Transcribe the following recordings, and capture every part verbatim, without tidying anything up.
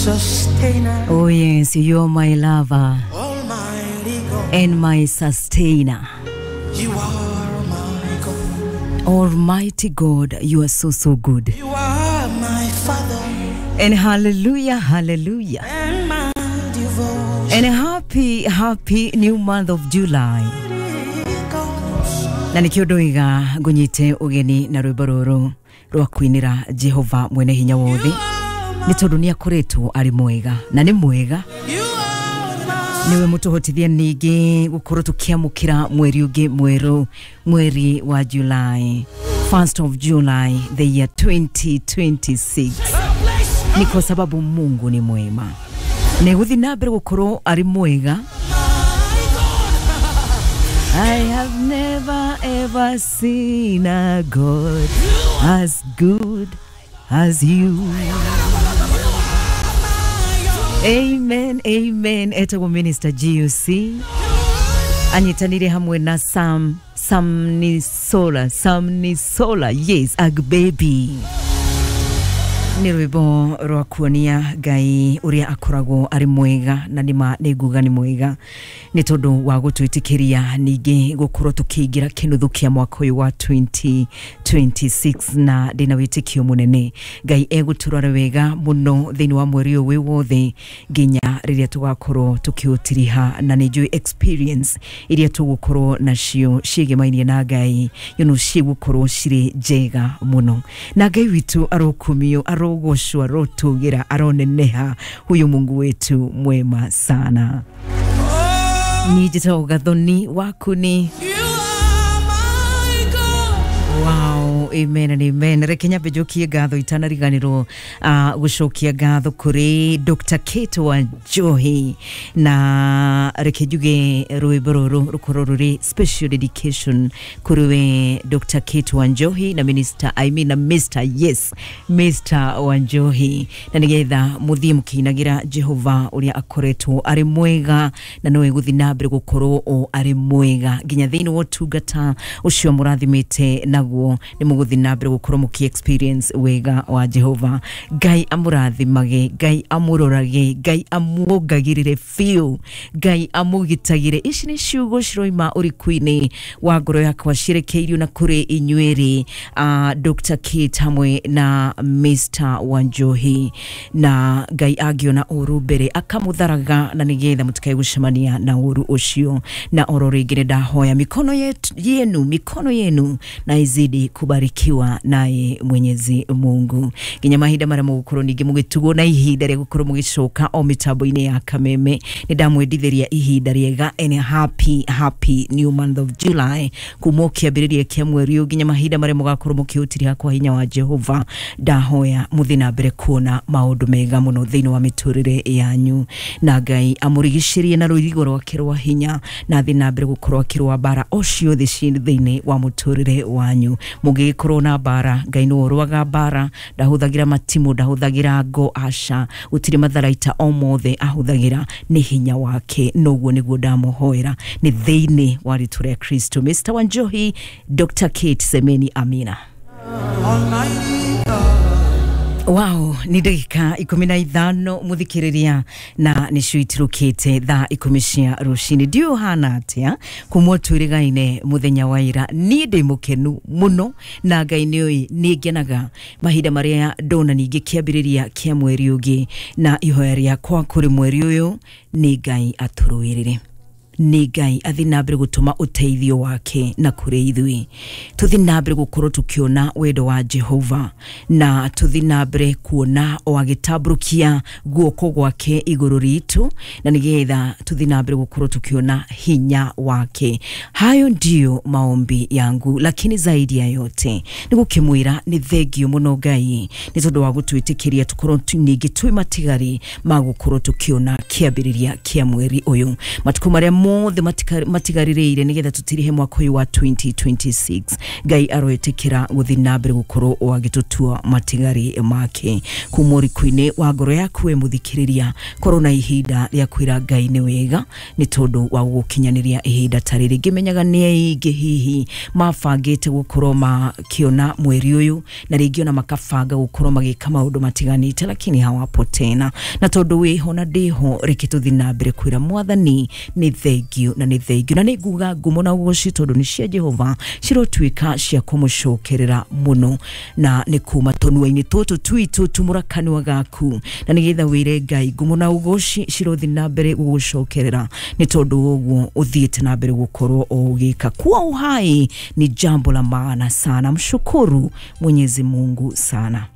sustainer. Oh yes, you are my lover. Almighty God. And my sustainer. You are my God. Almighty God, you are so, so good. You are my Father. And hallelujah, hallelujah. And my devotion. And happy, happy new month of July. Na nikio ndoiga ngunyite ugeni na rwimbo ruru rwa kwinira Jehova mwene hinya wothe ni tondu ni akoretwo ari mwega na ni mwega niwe mutuhotithia ningi gukorwo tukiamukira mweri ungi mweru, mweri wa July, first of July the year twenty twenty-six. Ni kwa sababu Mungu ni mwema na guthi na mbere gukorwo ari mwega. I have never ever seen a God as good as you. Amen, amen. Etagwo Minister G U C anyitanire hamwe na Sam Sam Nisola, Sam Nisola, yes, Ag Baby. Ni rwimbo rwa kuonia Ngai uria akoragwo ari mwega na nima nĩnguga nĩ mwega nĩ tondu wa gũtwĩtĩkĩria ningĩ gũkorwo tũkĩingĩra kĩnuthu kĩa mwaka ũyũ wa twenty twenty-six na ndĩna wĩtĩkio mũnene Ngai egũtũrora wega mũno thĩinĩ wa mweri ũyũ wĩ wothe nginya rĩrĩa tũgakorwo tũkĩũtiriha na nĩ njũĩ experience iria tũgũkorwo nacio ciĩgemainie na Ngai you know cigũkorwo cirĩ njega mũno na Ngai witũ arokumio, arogocwo, arotugira, aroneneha. Huyu Mungu wetu mwema sana. Ni njĩtagwo Gathoni waku ni. Wow, amen and amen. Reke nyambe njokie ngatho itanariganirwo uh, gucokia ngatho kuri Doctor Kate wa Njohi na reke njuge rwimbo ruru rukorwo ruri special dedication kuri we Doctor Kate wa Njohi na Minister, I mean na Mister yes, Mister wa Njohi na nigetha muthie mukinagira Jehova uria akoretwo ari mwega na nowe guthi na mbere gukorwo o ari mwega nginya thiini wa utungata ucio murathimite naguo ni muguthi na mbere gukorwo muki experience wega wa Jehova. Ngai amurathimage, Ngai amurorage, Ngai amuongagirire biũ, Ngai amugitagire. Ici ni ciugo ciroima ũriku-inĩ wa ngoro yakwa cirekeirio na kũrĩ inyuĩrĩ uh, Doctor Kate hamwe na Mister Wanjohi na Ngai angĩona ũru mbere akamutharaga na nĩgetha mũtikae gũcemania na ũru ũcio. Na oro rĩngĩ nĩndahoya mikono yetu, yenu mikono yenu na izidi kubarikiwa naye Mwenyezi Mungu nginya mahinda maria mugukorwo ningi mugitugwo na ihinda ria gukorwo mugicoka o mitambo-inĩ ya Kameme. Nĩndamwendithĩria ihinda riega and happy happy new month of July kuma kĩambĩrĩria kĩa mweri ũyũ nginya mahinda maria mugakorwo mũkĩũtiriha kwa hinya wa Jehova. Ndahoya muthi na mbere kuona maũndũ mega mũno thĩinĩ wa mĩtũrĩre yanyu na Ngai amũrigicĩrie na rũirigo rwake rwa hinya na athi na mbere gũkorwo akĩrũa mbara o ciothe ciĩ thĩinĩ wa mũtũrĩre wanyu. Mũngĩgĩkorwo na mbara, Ngai nĩwe ũrũaga mbara, ndahũthagĩra matimũ, ndahũthagĩra ngo, aca, gũtirĩ matharaita o mothe ahũthagĩra, nĩ hinya wake. Noguo nĩguo ndamũhoera nĩ thĩinĩ wa rĩtwa rĩa Kristo. Mister Wanjohi, Doctor Kate Semeni, amina. Wow, ni ndagĩka ikũmi na ithano mũthikĩrĩria na nĩcio itirũkĩte thaa ikũmi cia rũcinĩ. Ndiũĩ ũhana atĩa kuma twĩrĩgaine mũthenya wa ira. Niĩ ndĩ mũkenu mũno na Ngai nĩũĩ nĩ ngenaga mahinda marĩa ndona ningĩ kĩambĩrĩria kĩa mweri ũngĩ na ihoya rĩakwa kũrĩ mweri ũyũ nĩ Ngai atũrũĩrĩre, nĩ Ngai athi na mbere gũtũma ũteithio wake na kũrĩ ithuĩ, tũthi na mbere gũkorwo tũkĩona wendo wa Jehova na tũthi na mbere kuona o agĩtambũrũkia guoko gwake igũrũ ritũ na nĩgetha tũthi na mbere gũkorwo tũkĩona hinya wake. Hayo ndiyo maombi yangu, lakini zaidi ya yote nĩ gũkĩmwĩra nĩ thengio mũno Ngai nĩ tondũ wa gũtwĩtĩkĩria tũkorwo ningĩ twĩ matigari ma gũkorwo tũkĩona kĩambĩrĩria kĩa mweri ũyũ. Matukũ marĩa mothe matigarĩrĩire nĩgetha tũtirihe mwaka ũyũ wa twenty twenty-six. Ngai aroĩtĩkĩra gũthiĩ na mbere gũkorwo o agĩtũtua matigari make. Kuma ũriku-inĩ wa ngoro yaku we mũthikĩrĩria, korwo na ihinda rĩa kwĩra Ngai nĩ wega nĩ tondũ wa gũgũkinyanĩria ihinda ta rĩrĩ. Ngĩmenyaga nĩ aingĩ hihi mabangĩte gũkorwo makĩona mweri ũyũ na rĩngĩ ona makabanga gũkorwo magĩka maũndũ matiganĩte, lakini hawapo tena. Na tondũ wĩho na ndĩho, reke tũthiĩ na mbere kwĩra Mwathani nĩ thengio na nĩ thengio, na nĩ nguga ngumo na ũgoci tondũ nĩ cia Jehova cirotuĩka cia kũmũcokerera mũno, na nĩ kuma tũnua-inĩ tũtũ twitũ tumũra kanua gaku na nĩgetha wĩre Ngai ngumo na ũgoci cirothiĩ na mbere gũgũcokerera nĩ tondũ ũguo ũthiĩte na mbere gũkorwo ũgĩka. Kuwa uhai ni jambo la maana sana, mshukuru Mwenyezi Mungu sana.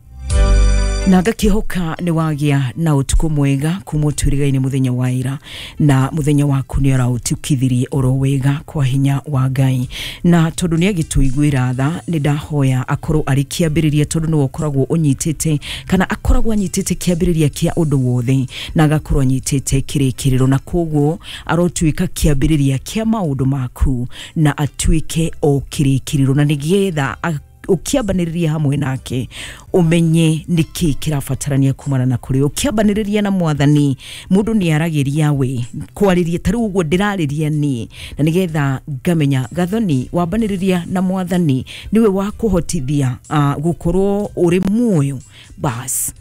Na ngakihoka nĩ wagĩa na ũtukũ mwega kuma ũtwĩrĩga-inĩ mũthenya wa ira, na mũthenya waku nĩ araũtukithirie oro wega kwa hinya wa Ngai. Na tondũ nĩ agĩtũiguĩra tha, nĩ ndahoya akorwo arĩ kĩambĩrĩria, tondũ nĩwe ũkoragwo ũnyitĩte kana akoragwo anyitĩte kĩambĩrĩria kĩa ũndũ wothe na agakorwo anyitĩte kĩrĩkĩrĩro, na koguo arotuĩka kĩambĩrĩria kĩa maũndũ maku na atuĩke o kĩrĩkĩrĩro, na nĩgetha ukiambanĩrĩria hamwe nake umenye nĩkĩ kĩrabatarania kumana na kũrĩ. Ũkĩambanĩrĩria na Mwathani, mũndũ nĩ aragĩria we kwarĩria ta rĩu ũguo ndĩrarĩria niĩ, na nĩgetha ngamenya Gathoni wambanĩrĩria na Mwathani nĩwe wa kũhotithia uh, gũkorwo ũrĩ muoyo, bas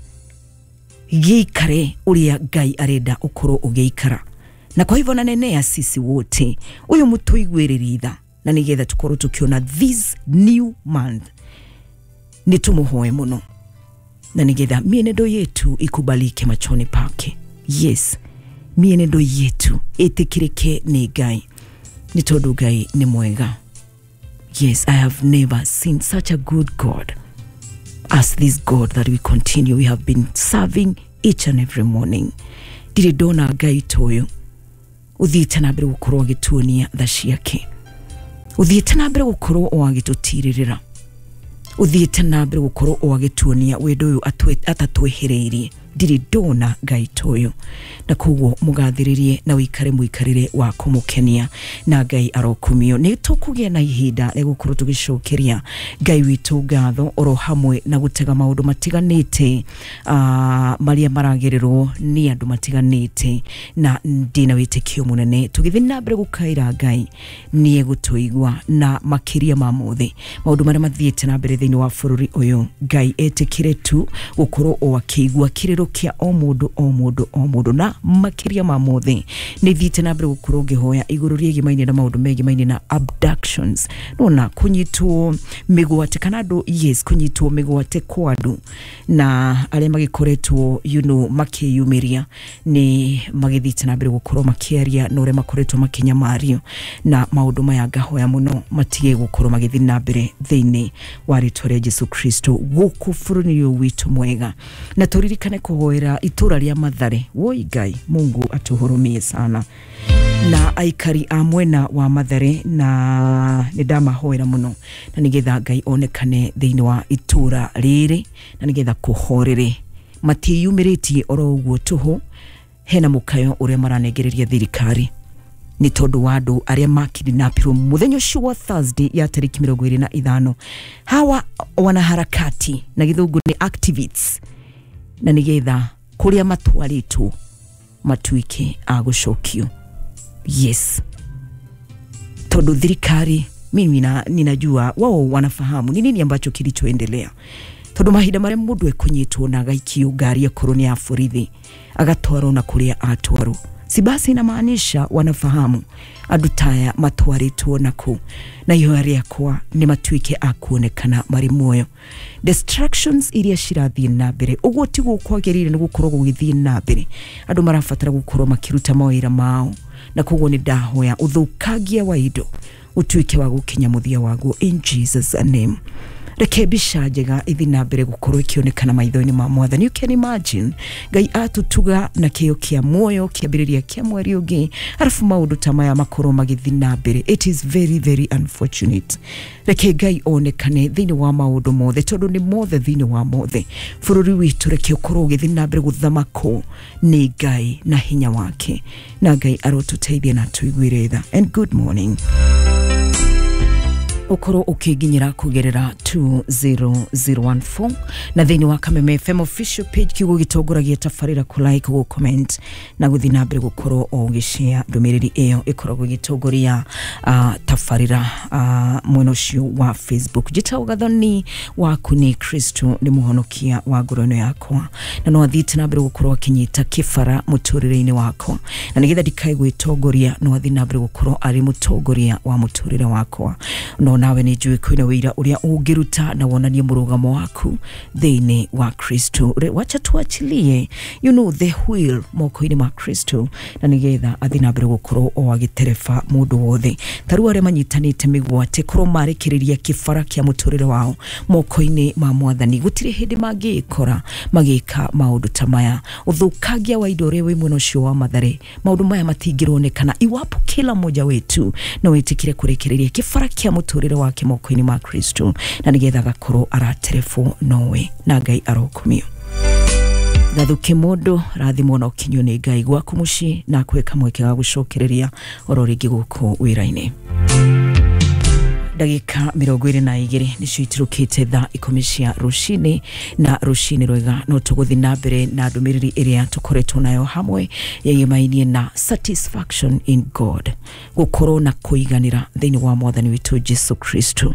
gĩikare ũrĩa Ngai arenda ũkorwo ũgĩikara. Na kwa hivyo nanenea sisi wote ũyũ mũtũiguĩrĩrie tha, na nĩgetha tukorwo tukiona this new month nĩ tũmũhoe mũno, na nĩgetha mienendo yetu ikubalike machoni pake. Yes, mienendo yetu ĩtĩkĩrĩke nĩ Ngai, nĩ tondũ Ngai nĩ mwega. Yes, I have never seen such a good God as this God that we continue, we have been serving each and every morning. Ndirĩ ndona Ngai ta ũyũ ũthiĩte na mbere gũkorwo agĩtuonia tha ciake, ũthiĩte na mbere gũkorwo o agĩtũtirĩrĩra, ũthiĩte na mbere gũkorwo o agĩtuonia wendo ũyũ atatwehereirie. Ndirĩ ndona Ngai ta ũyũ, na koguo mũgathĩrĩrie na ũikare mũikarĩre wa kũmũkenia, na Ngai arokumio. Nĩ tũkũgĩa na ihinda rĩa gũkorwo tũgĩcokeria Ngai witũ ngatho oro hamwe na gũtega maũndũ matiganĩte uh, marĩa maragererwo nĩ andũ matiganĩte, na ndĩna wĩtĩkio mũnene tũgĩthiĩ na mbere gũkaĩra Ngai nĩ egũtũigua, na makĩria ma mothe maũndũ marĩa mathiĩte na mbere thĩinĩ wa bũrũri ũyũ, Ngai etĩkĩre tu gũkorwo o akĩigua kĩrĩro kĩa o mũndũ o mũndũ o mũndũ, na makĩria ma mothe nĩ thiĩte na mbere gũkorwo ngĩhoya igũrũ rĩgimaine na maũndũ megimaine na abductions, nona kũnyitwo mĩgwate kana andũ, yes, kũnyitwo mĩgwate kwa andũ, na arĩa magĩkoretwo you know makĩyumĩria nĩ magĩthiĩte na mbere gũkorwo makĩaria na ũrĩa makoretwo makĩnyamario, na maũndũ maya ngahoya mũno matige gũkorwo magĩthiĩ na mbere thĩinĩ wa rĩtwa rĩa Jesu Kristo gũkũ bũrũri ũyũ witũ mwega. Na tũririkane kũhoera itũra rĩa Mathare. Woi Ngai, Mungu atuhurumie sana na aikari a mwena wa Mathare, na nĩ ndamahoera mũno na nĩgetha Ngai onekane thĩinĩ wa itũra rĩrĩ, na nĩgetha kũhorere matiyumĩrĩtie oro ũguo tũhũ. Hena mũkayo ũrĩa maranengereria thirikari nĩ tondũ wa andũ arĩa makidnapirwo mũthenya ũcio wa Thursday ya tarĩki mĩrongo ĩrĩ na ithano. Hawa wanaharakati na gĩthũngũ nĩ activists, na nĩgetha kũrĩa matwarĩtwo matuĩke a gũcokio. Yes, tondũ thirikari mimi na, ninajua wao wanafahamu ni nini ambacho kilichoendelea, tondũ mahinda marĩa mũndũ ekũnyitwo na agaikio ngari akorwo nĩ ya borithi agatwarwo na kũrĩa atwarwo, si basi inamaanisha wanafahamu andũ taya matwarĩtwo naku, na ihoya rĩakwa nĩ matuĩke a kuonekana marĩ muoyo. Destructions iria cirathiĩ na mbere ũguo tiguo kwagĩrĩire nĩ gũkorwo gũgĩthiĩ na mbere, andũ marabatara gũkorwo makĩruta mawĩra mao, na koguo nĩ ndahoya ũthũkangia wa indo ũtuĩke wa gũkinya mũthia waguo in Jesus name. Reke mbica njega ithi na mbere gukorwo ikionekana maitho-inĩ ma Mwathani. You can imagine Ngai atutuga na kĩo kĩa muoyo kĩambĩrĩria kĩa mweri ũngĩ, arabu maũndũ ta maya makorwo magĩthiĩ na mbere. It is very very unfortunate. Reke Ngai onekane thĩinĩ wa maũndũ mothe, tondũ nĩ mothe thĩinĩ wa mothe. Bũrũri witũ reke ũkorwo ũgĩthiĩ na mbere gũthamakwo nĩ Ngai na hinya wake, na Ngai arotũteithie na tũiguĩre tha. And good morning. Ukorwo ukiginyira kugerera two zero zero one four na thiini wa Kameme F M official page kiugo gitongoragia tabarira ku like, ku comment na guthi na mbere gukorwo o ugishare ndumiriri iyo ikoragwo igitongoria uh, tabarira uh, mwena ucio wa Facebook. Njitagwo Gathoni waku ni Kristo ni muhonokia wa ngoro ino yakwa, na no athiite na mbere gukorwo akinyita kibara muturire-ini wakwa, na nigetha ndikae gwitongoria no athi na mbere gukorwo ari mutongoria wa muturire wakwa. No nawe nĩ njũĩ kwĩna wĩira ũrĩa ũngĩruta na wonanie mũrũgamo waku thĩinĩ wa Kristo. Wacha tuachilie you know the wheel moko-inĩ ma Kristo, na nĩgetha athiĩ na mbere gũkorwo o agĩtereba mũndũ wothe. Ta rĩu arĩa manyitanĩte mĩgwate korwo marekereria kĩbara kĩa mũtũrĩre wao moko-inĩ ma Mwathani, gũtirĩ hĩndĩ mangĩkora magĩka maũndũ ta maya. Ũthũkangia wa indo ũrĩa wĩ mwena ũcio wa Mathare, maũndũ maya matingĩronekana iwapo kila mmoja wetu no wĩtĩkĩre kũrekereria kĩbara kĩa mũtũrĩre wake moko-inĩ ma Kristo, na nĩgetha agakorwo araterefo nowe, na Ngai arokumio. Gathuke mũndũ rathimwo na ũkinyio nĩ Ngai gwaku mũciĩ, na akũhe kamweke ga gũcokereria oro rĩngĩ gũkũ wĩra-inĩ. Ndagĩka mĩrongo ĩrĩ na igĩrĩ nĩcio itirũkĩte thaa ikũmi cia rũcinĩ, na rũcinĩ rwega no tũgũthiĩ na mbere na ndũmĩrĩri ĩrĩa tũkoretwo nayo hamwe yegĩmainie na satisfaction in God, gũkorwo na kũiganĩra thĩinĩ wa Mwathani witũ Jesu Kristo.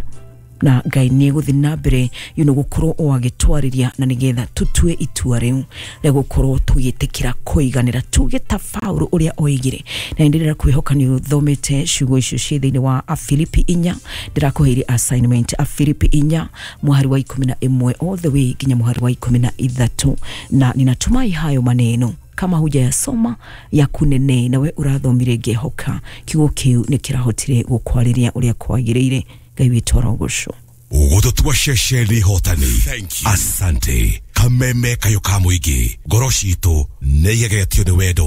Na Ngai nĩ egũthiĩ na mbere you know gũkorwo o agĩtwarĩria, na nĩgetha tũtue itua rĩu rĩa gũkorwo tũgĩtĩkĩra kũiganĩra, tuge ta Paulo ũrĩa oigire. Na ndĩrera kwĩhoka nĩ ũthomete ciugo icio ciĩ thĩinĩ wa Afilipi inya, ndĩrakũheire assignment Afilipi inya mũhari wa ikũmi na ĩmwe all the way nginya mũhari wa ikũmi na ithatũ, na ninatumai hayo maneno kama hujayasoma yakunene, nawe urathomire ngĩhoka kiugo kĩu nĩ kĩrahotire gũkwarĩria ũrĩa kwagĩrĩire. Ngai witũ arogocwo. Ũgũtũtua ceceni hotani. Asante. Kameme kayo ka mũingĩ, ngoro citũ nĩ igegetio nĩ wendo.